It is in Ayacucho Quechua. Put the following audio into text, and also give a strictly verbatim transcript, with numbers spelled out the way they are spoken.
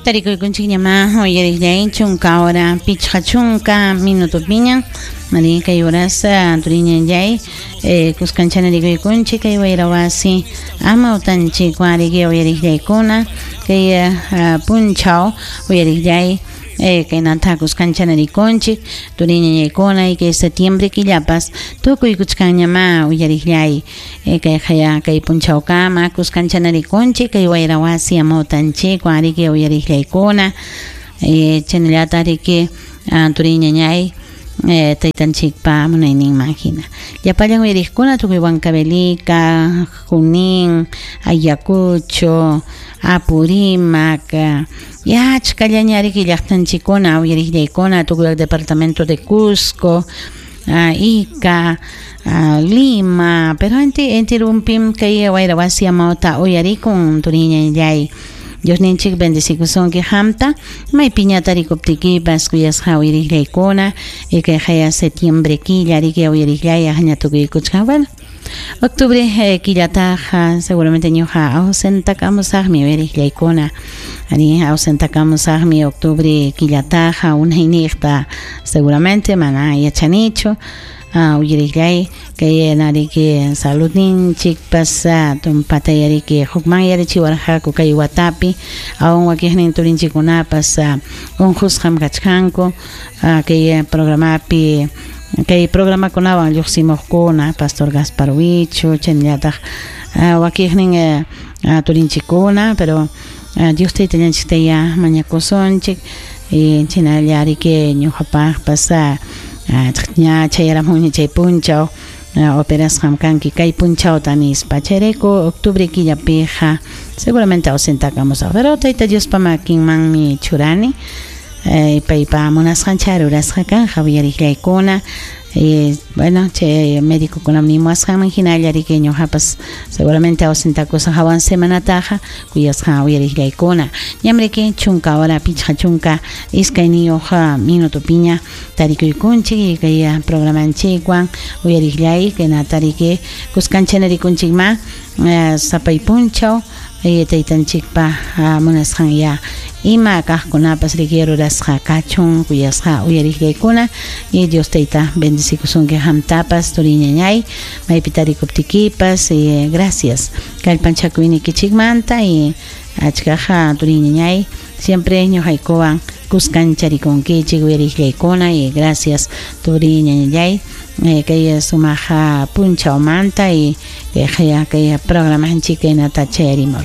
Tarikuykunchikñamá uyariqllay chunka hora pichqa chunka minutopiña mari kay horas turiñallay eh, kuskanchana rikuykunchik kay wayrawasi amawtanchikwan riki uyariqllaykuna kay uh, punchaw uyariqllay eh, kaynata kuskanchana rikunchik turiñañaykuna y kay septiembre killapas tukuy kuchkanñamá uyariqllay eh, kay haya kay punchawkama kuskanchana rikunchik kay wayrawasi amawtanchikwan riki uyariqllaykuna eh, chaynallata riki uh, turiñañay eh, taytanchikpa munayninman hina llapallan uyariqkuna tukuy Huancavelica, Junín, Ayacucho, Apurímac, ya achkallaña riki llaqtanchikkuna uyariqllaykuna tukuy el departamento de Cusco, uh, Ica, uh, Lima, pero inti intirumpim kay wayrawasi amawta uyarikun turiñallay. Diosninchik bendecikusunki qamta maypiña tarikuptikipas kuyasqa uyariqllaykuna y kay haya septiembre killa riki uyariqllay aqña tukuykuchkan. Bueno, octubre eh, killataqa seguramente ñuqa ausentakamusaqmi uyariqllaykuna ari ausentakamusaqmi octubre killataqa unayniqta seguramente mana yachanichu uh, uyariqllay kay nariki saludninchikpas tumpata yariki hukman yarichiwarqaku kay watapi awan wakiqnin turinchikkunapas unqusqam kachkanku uh, kay programapi kay programakunawan lluqsimuqkuna Pastor Gaspar Huicho chaynallataq uh, wakiqnin uh, turinchikkuna pero uh, Dios taytallanchiktaya mañakusunchik y chaynalla riki ñuqapaqpas uh, ña chayaramunña chay punchaw operasqam kanki kay punchawta nispa chayrayku octubre killapiqa seguramente ausentakamusaq pero tayta Diospa makinmanmi churani eh, paypa munasqancha rurasqa kanja uyariqllaykuna eh, bueno chay médicokunam nimuwasqanman hinalla riki ñuqapas seguramente ausentakusaq hawan semanataqa kuyasqa uyariqllaykuna ñam riki chunka hora pichqa chunka iskayniyuq minutopiña tarikuykunchik kay programanchikwan uyariqllay kaynata riki kuskanchana rikunchikma eh, sapay punchaw taytanchikpa munasqan ya ima kaqkunapas riki rurasqa kachun kuyasqa uyariqllaykuna y Dios tayta bendecikusunki qamtapas turiñañay maypi tarikuptikipas y gracias kallpanchakuynikichikmanta y achkaqa turiñañay siempre ñuqaykuwan kuskancharikunkichik uyariqllaykuna y gracias turiñañay eh, kay sumaqa punchawmanta y kay kay programanchik kaynata chayarimurqa.